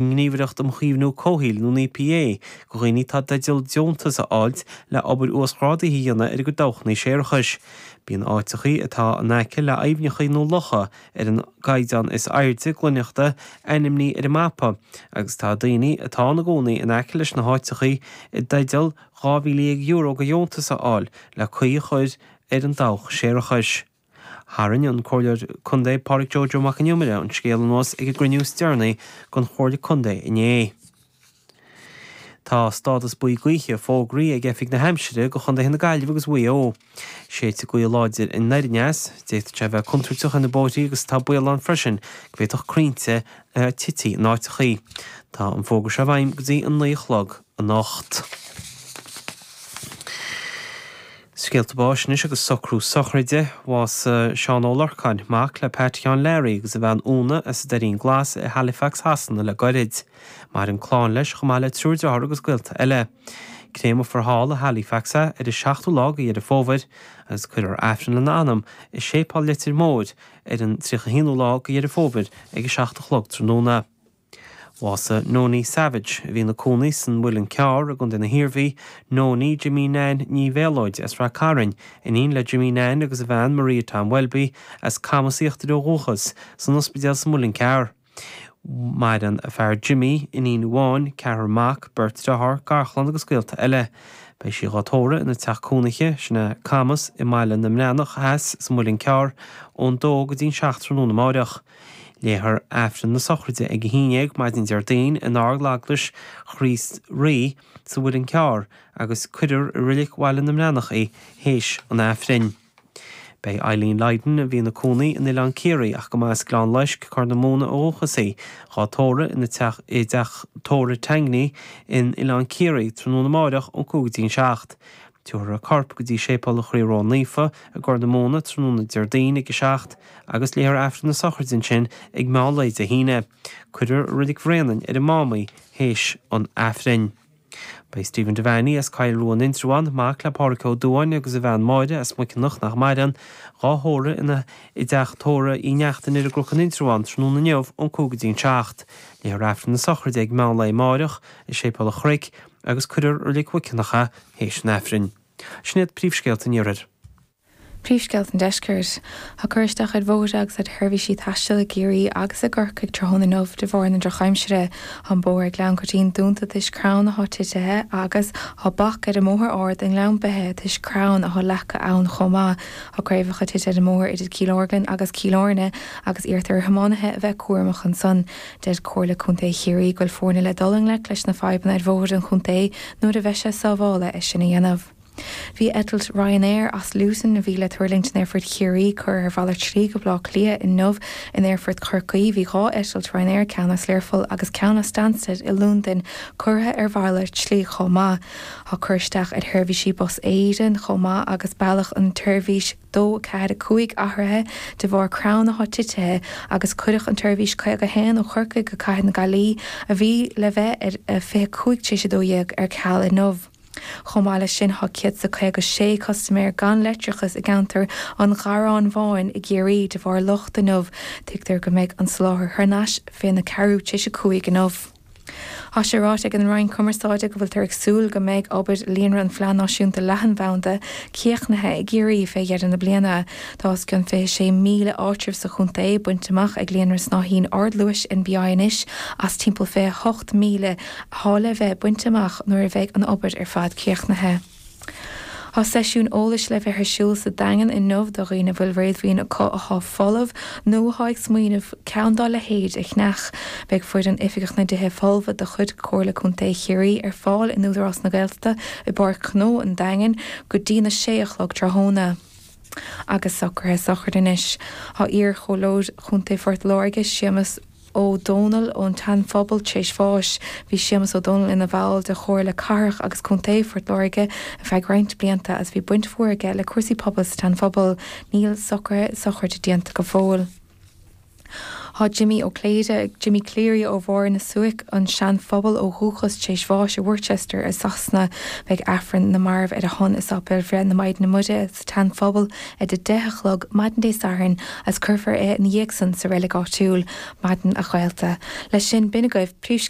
nGníomhaireacht um Chaomhnú Comhshaoil, nó an EPA, go dhaoine atá i dteideal deontas a fháilt le obair uasghrádaithe a dhéanamh ar a gcuid dabhchanna séarachais. Bíonn áiteachaí atá in aice le aibhneachaí nó locha ar an gcaighdeán is airde glaineachta ainmnithe ar an mapa agus tá daoine atá ina gcónaí in aice leis na háiteachaí i dteideal €12,000 de dheontas a fháil le caoi a chur ar an dabhach séarachais. Tharraing an Comhairleoir Contae Pádraig Joe Joe Mac an Iomaire an scéal anuas ag an gcruinniú is deireanaí den Chomhairle Contae inné. Tá stádas buí gaoithe fógraithe ag Oifig na hAimsire do chontaetha na Gaillimhe agus Mhaigh Eo. Séidfidh gaoth láidir anoir aneas, d'fhéadfadh sé a bheith contúirteach ar na bóithrí agus tá baol ann freisin go bhféadfadh crainnte a tití in áiteachaí. Tá an fógra seo i bhfeidhm go dtí a 9 a chlog anocht. Scéalta báis anois agus socrú sochraide. Bhásaigh Seán Ó Lorcáin, mac le Pat Sheáin Learaí agus a bhean Úna as an Doirín Glas i Halifax Shasana le goirid. Maireann clann leis chomh maith le triúr dearthár agus gaolta eile. Créamfar thall i Halifax é ar an seachtú lá de Dheireadh Fómhair agus cuirfear Aifreann lena anam i Séipéal Leitir Móir ar an 31ú lá de Dheireadh Fómhair ag a 7 a chlog tráthnóna. Bhásaigh Nonie Savage, a bhí ina cónaí san Mhuileann Cearr i gContae na hIarmhí, Nonie Jimí Nan Ní Mhéalóid as Rath Cairn, iníon le Jimí Nan agus a bhean Maria Tom Welby, as Camas Íochtair ó dhúchas, san ospidéal sa Mhuileann Cearr. Maireann a fear Jimí, iníon amháin, ceathrar mac, beirt dearthár, garchlann agus gaolta eile. Beidh sí dhá tórramh ina teach cónaithe, sin é Camas, i mBaile na mBreathnach Theas sa Mhuileann Cearr, ón dó go dtí an 7 tráthnóna amáireach. Léifear Aifreann na sochraide ag a haon dhéag maidin Déardaoin in Ardeaglais Chríost Rí sa Mhuileann Cearr agus cuirfear i Reilig Bhaile na mBreathnach í théis an Aifrinn. Beidh Eileen Lydon, a bhí ina cónaí in Oileán Ciarraí ach go mba as Gleann Loisc, Corr na Móna ó dhúchas í, dhá tórramh ina teach i dteach tórraimh Tangney in Oileán Ciarraí tráthnóna amáireach ón 5 go dtí an 7. Tabharfar a corp go dtí Séipéal an Chroí Ró-Naofa i gCorr na Móna tráthnóna Déardaoin ag a 7 agus léifear Aifreann na sochraide ansin ag meán lae Dé hAoine. Cuirfear i Reilig Bhréanainn ar an Mám í théis an Aifrinn. Beidh Stephen Devaney as Coill Rua in Indreabhán, mac le Pádhraic Ó Dubháin agus a bhean Máire as Muiceanach nach maireann, dhá thórramh ina i dteach tórraimh Uí Neachtain ar an gCnoc in Indreabhán tráthnóna inniu ón 5 go dtí an 7. Léifear Aifreann na sochraide ag meán lae amáireach i Séipéal an Chnoic agus cuirfear i Reilig Mhuiceanach é théis an Aifrinn. Sin iad príomhscéalta an Iarthair. Príomhscéalta an Deiscirt. Tá cur isteach ar bhóithre agus ar sheirbhísí taistil i gCiarraí agus i gCorcaigh tráthnóna inniu de bharr na drochaimsire. Tá an bóthar ag Gleann Coitín dúnta toisc crann atá titithe agus tá bac ar an mbóthar ard i nGleann Beithe toisc crann atá leagtha ann chomh maith. Tá craobhacha tite ar an mbóthar idir Cill Orglan agus Cill Airne agus iarrtar ar thiománaithe a bheith cúramach ansan. Deir Comhairle Contae Chiarraí go bhfuil foirne le dul i ngleic leis na fadhbanna ar bhóithre an chontae nuair a bheidh sé sábhála é sin a dhéanamh. Bhí eitilt Ryanair as Luton a bhí le tuirlingt in Aerfort Chiarraí curtha ar mhalairt slí go Baile Átha Cliath inniu. In Aerfort Chorcaí bhí 2 eitilt Ryanair, ceann as Learpholl agus ceann as Stansted i Londain, curtha ar mhalairt slí chomh maith. Tá cur isteach ar sheirbhísí Bus Éireann chomh maith agus bealach an tseirbhís 2, 4, 5 athraithe de bharr crann atá titithe agus cuireadh an tseirbhís 51 ó Chorcaigh go Cathair na Gaillimhe a bhí le bheith ar a 25 tar éis 12 ar ceal inniu. Chomh maith leis sin tá 156 custaiméir gan leictreachas i gceantar an Gharráin Bháin i gCiarraí de bharr locht inniu. Tuigtear go mbeidh an soláthar thar n-ais féna ceathrú tar éis a 5 inniu. Tá sé ráite ag an Roinn Cumarsáide go bhfuiltear ag súil go mbeidh obair Líonra an Phlean Náisiúnta Leathanbhanda críochnaithe i gCiarraí fé dheireadh na bliana. Tá os cionn 26,000 áitreabh sa chontae bainte amach ag líonra snáithín ardluais NBI anois as timpeall 28,000 atá le bheith bainte amach nuair a bheidh an obair ar fad críochnaithe. Tá seisiún eolais le bheith ar siúl sa Daingean inniu do dhaoine a bhfuil réadmhaoin acu atá folamh nó atá ag smaoineamh ceann dá leithéid a cheannach. Beidh foireann Oifigeach na dTithe Folmha de chuid Chomhairle Contae Chiarraí ar fáil in Údarás na Gaeltachta i bPáirc Ghnó an Daingin go dtína sé a chlog tráthnóna. Agus socruithe sochraide anois. Tá iar-Chomhairleoir Chontae Phort Láirge, Séamus. Ó Dónaill ón tSean-Phobal tar éis bháis. Bhí Séamus Ó Dónaill ina bhall de Chomhairle Cathrach agus Contae Phort Láirge ar feadh roinnt blianta agus bhí baint mhór aige le cúrsaí pobail sa tSean-Phobal. Níl socruithe sochraide déanta go fóill. Tá Jimmy Ó Cléide, Jimmy Cleary ó Bharr na Suaice, an Sean-Phobal ó dhúchas, tar éis bháis i Worcester i Sasana. Beidh Aifreann na Marbh ar a shon i Sáipéal Bhreith na Maighdine Muire sa tSean-Phobal ag a 10 a chlog maidin Dé Sathairn agus cuirfear é ina dhiaidh san sa reilig áitiúil. Maidin a ghaolta. Leis sin, b'in agaibh príomhscéalta.